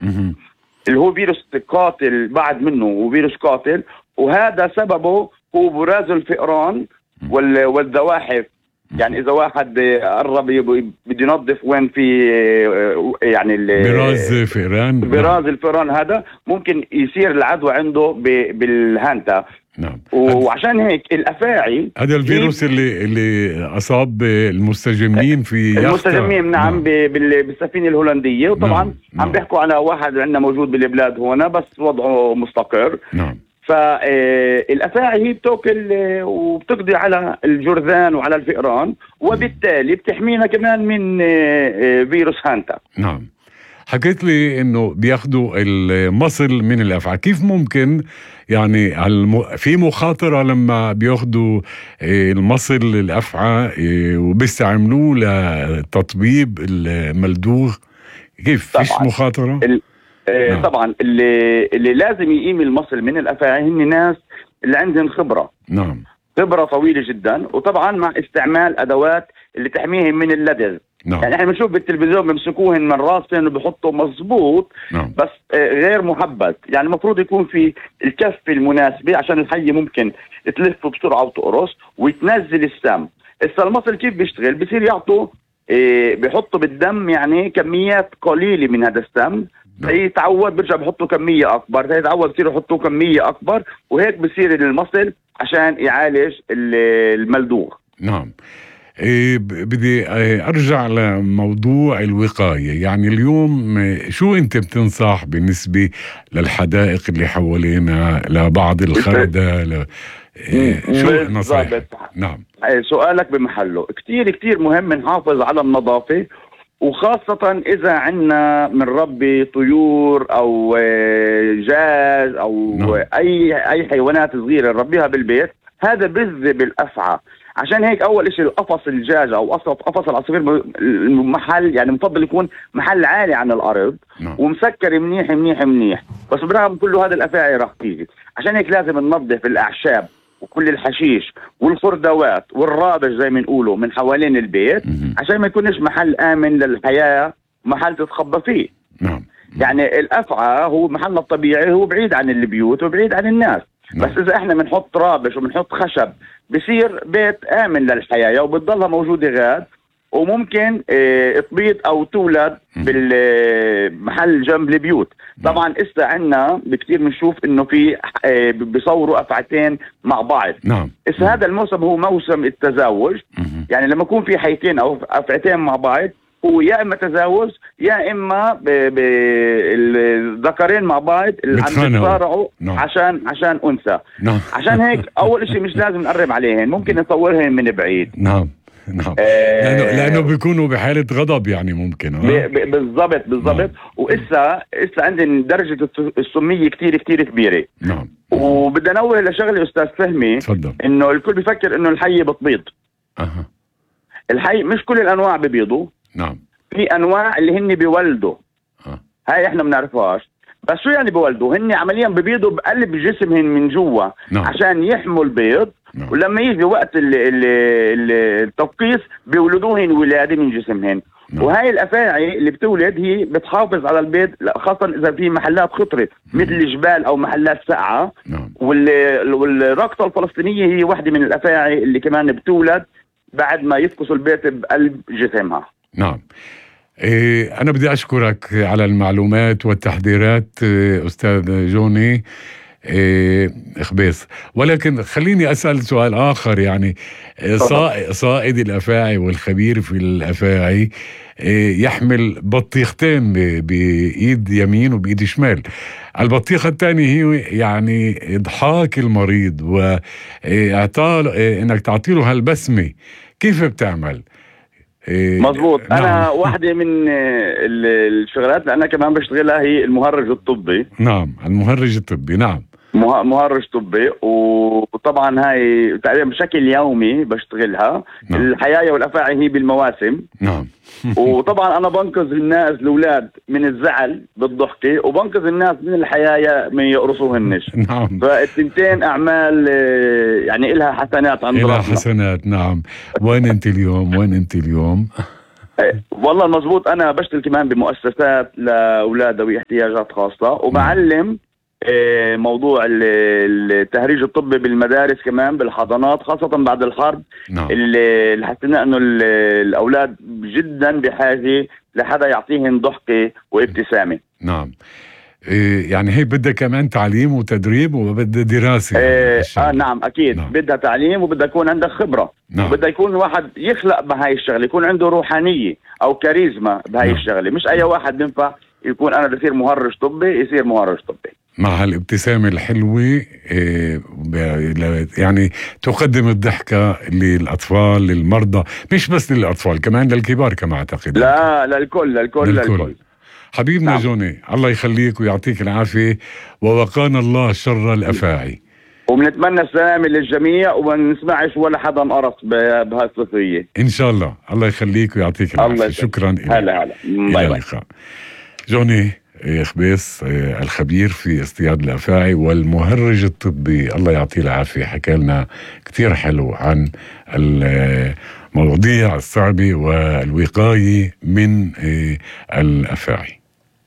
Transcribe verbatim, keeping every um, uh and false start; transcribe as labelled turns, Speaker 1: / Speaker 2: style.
Speaker 1: مهم.
Speaker 2: اللي هو فيروس قاتل بعد منه، وفيروس قاتل، وهذا سببه هو براز الفئران وال- والزواحف. يعني اذا واحد قرب يب- بده ينظف وين في يعني ال-
Speaker 1: براز فئران.
Speaker 2: براز الفئران، هذا ممكن يصير العدوى عنده ب- بالهانتا.
Speaker 1: نعم.
Speaker 2: وعشان هيك الافاعي
Speaker 1: هذا الفيروس اللي اللي اصاب المستجمين في يخت.
Speaker 2: المستجمين نعم, نعم. بال- بالسفينه الهولنديه. وطبعا
Speaker 1: نعم.
Speaker 2: عم بيحكوا على واحد عندنا موجود بالبلاد هنا بس وضعه مستقر.
Speaker 1: نعم.
Speaker 2: فالافاعي هي بتاكل وبتقضي على الجرذان وعلى الفئران، وبالتالي بتحمينا كمان من فيروس هانتا.
Speaker 1: نعم. حكيت لي انه بياخدوا المصل من الافعى، كيف ممكن يعني الم... في مخاطره لما بياخدوا المصل الافعى وبيستعملوه لتطبيب الملدوغ؟ كيف فيش مخاطره؟
Speaker 2: ال... نعم. طبعا اللي اللي لازم يقيم المصل من الافاعي هن ناس اللي عندهم خبره.
Speaker 1: نعم.
Speaker 2: خبره طويله جدا، وطبعا مع استعمال ادوات اللي تحميهم من اللدغ.
Speaker 1: نعم.
Speaker 2: يعني احنا بنشوف بالتلفزيون بيمسكوهن من راسهم وبحطوا مظبوط.
Speaker 1: نعم.
Speaker 2: بس غير محبس، يعني المفروض يكون في الكفه المناسبه عشان الحيه ممكن تلف بسرعه وتقرص وتنزل السم. هسه المصل كيف بيشتغل؟ بصير يعطوا إيه بيحطوا بالدم يعني كميات قليله من هذا السم. نعم. يتعود بيرجع بحطوا كميه اكبر، يتعود بصير يحطوا كميه اكبر، وهيك بصير المصل عشان يعالج الملدوغ.
Speaker 1: نعم. إيه بدي ارجع لموضوع الوقايه. يعني اليوم شو انت بتنصح بالنسبه للحدائق اللي حوالينا، لبعض الخردة ل... إيه شو نصائح؟ نعم.
Speaker 2: سؤالك بمحله. كتير كتير مهم نحافظ على النظافه، وخاصة إذا عنا من ربي طيور أو جاج أو نعم. أي أي حيوانات صغيرة نربيها بالبيت، هذا بيجذب الأفعى. عشان هيك أول إشي القفص الجاج أو قفص العصافير المحل يعني مفضل يكون محل عالي عن الأرض. نعم. ومسكر منيح منيح منيح. بس برغم كله هذا الأفاعي راح تيجي. عشان هيك لازم ننظف الأعشاب وكل الحشيش والخردوات والرابش زي ما نقولوا من حوالين البيت، عشان ما يكونش محل آمن للحياة، محل تتخبى فيه.
Speaker 1: نعم.
Speaker 2: يعني الأفعى هو محلنا الطبيعي، هو بعيد عن البيوت وبعيد عن الناس. نعم. بس إذا إحنا بنحط رابش وبنحط خشب بصير بيت آمن للحياة وبتضلها موجودة غاد، وممكن اه تبيض أو تولد بالمحل جنب البيوت. طبعا إسا عنا بكتير بنشوف إنه في اه بيصوروا أفعتين مع بعض.
Speaker 1: نعم.
Speaker 2: إسا هذا الموسم هو موسم التزاوج. يعني لما يكون في حيتين أو أفعتين مع بعض، هو يا إما تزاوج يا إما الذكرين مع بعض اللي عم يتصارعوا. نعم. عشان عشان أنثى.
Speaker 1: نعم.
Speaker 2: عشان هيك أول شيء مش لازم نقرب عليهن، ممكن نصورهن من بعيد.
Speaker 1: نعم. نعم. آه لأنه, لأنه بيكونوا بحالة غضب يعني ممكن.
Speaker 2: آه؟ بالضبط بالضبط. نعم. وإسا إسا عندنا درجة السمية كتير كتير كبيرة. نعم. وبدي أنوه لشغلة أستاذ فهمي.
Speaker 1: تفضل.
Speaker 2: إنه الكل بيفكر إنه الحية بتبيض.
Speaker 1: أها.
Speaker 2: الحي مش كل الأنواع ببيضوا.
Speaker 1: نعم.
Speaker 2: في أنواع اللي هن بيولدوا.
Speaker 1: أه.
Speaker 2: هاي إحنا بنعرفهاش. بس شو يعني بيولدوا؟ هن عمليا ببيضوا بقلب جسمهن من جوا. نعم. عشان يحموا البيض. نعم. ولما يجي وقت ال ال ال التفقيس بيولدوهن ولادة من جسمهن. نعم. وهاي الأفاعي اللي بتولد هي بتحافظ على البيض، خاصة إذا في محلات خطرة مثل الجبال أو محلات ساقعة.
Speaker 1: نعم.
Speaker 2: والرقصة الفلسطينية هي واحدة من الأفاعي اللي كمان بتولد بعد ما يفقسوا البيت بقلب جسمها.
Speaker 1: نعم. إيه أنا بدي أشكرك على المعلومات والتحذيرات أستاذ جوني إيه إخبيص، ولكن خليني أسأل سؤال آخر. يعني صائد الأفاعي والخبير في الأفاعي إيه يحمل بطيختين بإيد يمين وبإيد شمال. البطيخة الثانية هي يعني إضحاك المريض وإعطاء إيه إنك تعطيله هالبسمة. كيف بتعمل؟
Speaker 2: إيه مظبوط. نعم. أنا واحدة من الشغلات اللي أنا كمان بشتغلها هي المهرج الطبي.
Speaker 1: نعم. المهرج الطبي. نعم.
Speaker 2: مهرج طبي، وطبعا هاي تقريبا بشكل يومي بشتغلها. نعم. الحياية والأفاعي هي بالمواسم.
Speaker 1: نعم.
Speaker 2: وطبعا أنا بنقذ الناس الأولاد من الزعل بالضحكة، وبنقذ الناس من الحياية من يقرصوهنش.
Speaker 1: نعم.
Speaker 2: فالتنتين أعمال يعني إلها حسنات عند ربنا.
Speaker 1: إلها حسنات. نعم. وين أنت اليوم؟ وين أنت اليوم؟
Speaker 2: والله مزبوط. أنا بشتغل كمان بمؤسسات لأولاد ذوي احتياجات خاصة، وبعلم آه، موضوع ال- التهريج الطبي بالمدارس كمان بالحضانات، خاصة بعد الحرب.
Speaker 1: نعم.
Speaker 2: اللي اللي حسينا انه ال- الاولاد جدا بحاجة لحدا يعطيهم ضحكة وابتسامة.
Speaker 1: نعم. إيه يعني هي بدها كمان تعليم وتدريب وبدها دراسة يعني
Speaker 2: آه,
Speaker 1: هالشغلة.
Speaker 2: اه نعم اكيد.
Speaker 1: نعم.
Speaker 2: بدها تعليم وبدها يكون عندك خبرة.
Speaker 1: نعم.
Speaker 2: وبدها يكون واحد يخلق بهاي الشغلة، يكون عنده روحانية او كاريزما بهاي
Speaker 1: نعم.
Speaker 2: الشغلة. مش اي واحد بينفع يكون انا بصير مهرج طبي يصير مهرج طبي.
Speaker 1: مع هالابتسامة الحلوة إيه ب- يعني تقدم الضحكة للأطفال للمرضى، مش بس للأطفال كمان للكبار كما أعتقد.
Speaker 2: لا للكل للكل
Speaker 1: للكل,
Speaker 2: للكل.
Speaker 1: حبيبنا
Speaker 2: نعم.
Speaker 1: جوني، الله يخليك ويعطيك العافية، ووقانا الله شر الأفاعي.
Speaker 2: وبنتمنى السلامة للجميع وما نسمعش ولا حدا انقرص ب- بهالصفية.
Speaker 1: إن شاء الله. الله يخليك ويعطيك
Speaker 2: الله
Speaker 1: العافية.
Speaker 2: يسلمك.
Speaker 1: شكرا لك.
Speaker 2: هلا هلا.
Speaker 1: إلى
Speaker 2: باي باي.
Speaker 1: اللقاء. جوني خبيس الخبير في اصطياد الأفاعي والمهرج الطبي، الله يعطيه العافية، حكى لنا كتير حلو عن المواضيع الصعبة والوقاية من الأفاعي.